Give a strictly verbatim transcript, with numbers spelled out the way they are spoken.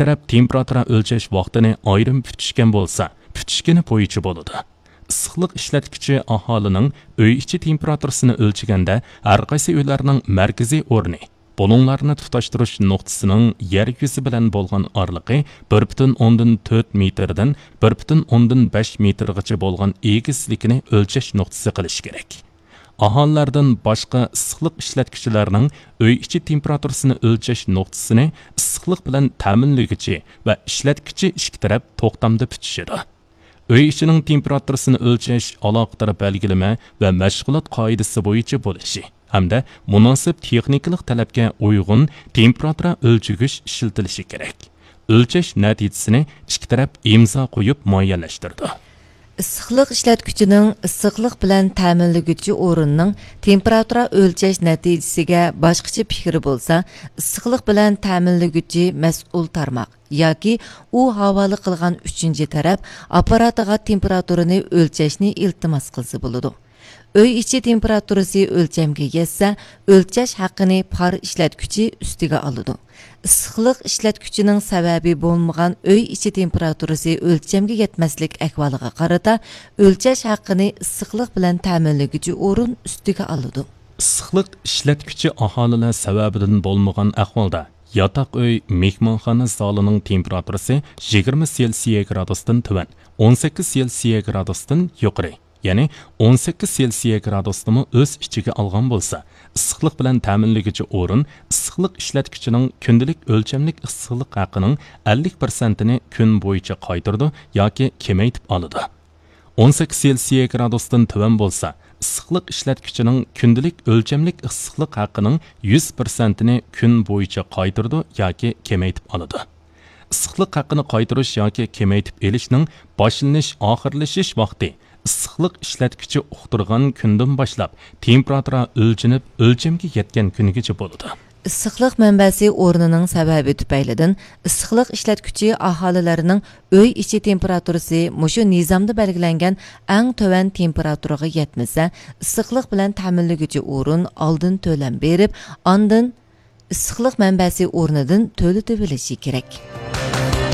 تەرەپ تېمپېراتۇرا ئۆلچەش ۋاقتىنى ئايرىم پۈتۈشكەن بولسا، پۈتۈشكىنى بويىچە بولىدۇ. ئىسسىقلىق ئىشلەتكۈچى ئاھالىنىڭ ئۆي ئىچى تېمپېراتۇرىسىنى ئۆلچىگەندە، ھەر قايسى ئۆيلەرنىڭ مەركىزىي ئورنى، بۇلۇڭلارنى تۇتاشتۇرۇش نۇقتىسىنىڭ يەر يۈزى بىلەن بولغان ئارىلىقى بىر پۈتۈن ئوندىن تۆت مېتىردىن بىر پۈتۈن ئوندىن بەش مېتىرغىچە بولغان ئېگىزلىكىنى ئۆلچەش نۇقتىسى قىلىش كېرەك. ئاھالىلەردىن باشقا ئىسسىقلىق ئىشلەتكۈچىلەرنىڭ ئۆي ئىچى تېمپېراتۇرىسىنى ئۆلچەش نۇقتىسىنى ئىسسىقلىق بىلەن تەمىنلىگۈچى ۋە ئىشلەتكۈچى ئىككى تەرەپ توختامدا پۈتۈشىدۇ. ئۆي ئىچىنىڭ تېمپېراتۇرىسىنى ئۆلچەش ئالاقىدار بەلگىلىمە ۋە مەشغۇلات قائىدىسى بويىچە بولۇشى ھەمدە مۇناسىپ تېخنىكىلىق تەلەپكە ئۇيغۇن تېمپېراتۇرا ئۆلچىگۈچ ئىشلىتىلىشى كېرەك. ئۆلچەش نەتىجىسىنى ئىككى تەرەپ ئىمزا قويۇپ مۇئەييەنلەشتۈرىدۇ. ئىسسىقلىق ئىشلەتكۈچىنىڭ ئىسسىقلىق بىلەن تەمىنلىگۈچى ئورۇننىڭ تېمپېراتۇرا ئۆلچەش نەتىجىسىگە باشقىچە پىكرى بولسا، ئىسسىقلىق بىلەن تەمىنلىگۈچى مەسئۇل تارماق ياكى ئۇ ھاۋالە قىلغان ئۈچىنچى تەرەپ ئاپپاراتىغا تېمپېراتۇرىنى ئۆلچەشنى ئىلتىماس قىلسا بولىدۇ. ئۆي ئىچى تېمپېراتۇرىسى ئۆلچەمگە يەتسە، ئۆلچەش ھەققىنى پار ئىشلەتكۈچى ئۈستىگە ئالىدۇ. ئىسسىقلىق ئىشلەتكۈچىنىڭ سەۋەبى بولمىغان ئۆي ئىچى تېمپېراتۇرىسى ئۆلچەمگە يەتمەسلىك ئەھۋالىغا قارىتا، ئۆلچەش ھەققىنى ئىسسىقلىق بىلەن تەمىنلىگۈچى ئورۇن ئۈستىگە ئالىدۇ. ئىسسىقلىق ئىشلەتكۈچى ئاھالىلەر سەۋەبىدىن بولمىغان ئەھۋالدا، ياتاق ئۆي، مېھمانخانا زالىنىڭ تېمپېراتۇرىسى يىگىرمە سېلسىيە گرادۇستىن تۆۋەن، ئون سەككىز سېلسىيە گرادۇستىن يۇقىرى، يەنى ئون سەككىز سېلسىيە گرادۇسنىمۇ ئۆز ئىچىگە ئالغان بولسا، ئىسسىقلىق بىلەن تەمىنلىگۈچى ئورۇن ئىسسىقلىق ئىشلەتكۈچىنىڭ كۈندىلىك ئۆلچەملىك ئىسسىقلىق ھەققىنىڭ ئەللىك پىرسەنتىنى كۈن بويىچە قايتۇرىدۇ ياكى كېمەيتىپ ئالىدۇ. ئون سەككىز سېلسىيە گرادۇستىن تۆۋەن بولسا، ئىسسىقلىق ئىشلەتكۈچىنىڭ كۈندىلىك ئۆلچەملىك ئىسسىقلىق ھەققىنىڭ يۈز پىرسەنتىنى كۈن بويىچە قايتۇرىدۇ ياكى كېمەيتىپ ئالىدۇ. ئىسسىقلىق ھەققىنى قايتۇرۇش ياكى كېمەيتىپ ئېلىشنىڭ باشلىنىش، ئاخىرلىشىش ۋاقتى ئىسسىقلىق ئىشلەتكۈچى ئۇقتۇرغان كۈندىن باشلاپ تېمپېراتۇرا ئۆلچىنىپ، ئۆلچەمگە يەتكەن كۈنىگىچە بولىدۇ. ئىسسىقلىق مەنبەسى ئورنىنىڭ سەۋەبى تۈپەيلىدىن ئىسسىقلىق ئىشلەتكۈچى ئاھالىلەرنىڭ ئۆي ئىچى تېمپېراتۇرىسى مۇشۇ نىزامدا بەلگىلەنگەن ئەڭ تۆۋەن تېمپېراتۇرىغا يەتمىسە، ئىسسىقلىق بىلەن تەمىنلىگۈچى ئورۇن ئالدىن تۆلەم بېرىپ، ئاندىن ئىسسىقلىق مەنبەسى ئورنىدىن تۆلىتىۋېلىشى كېرەك.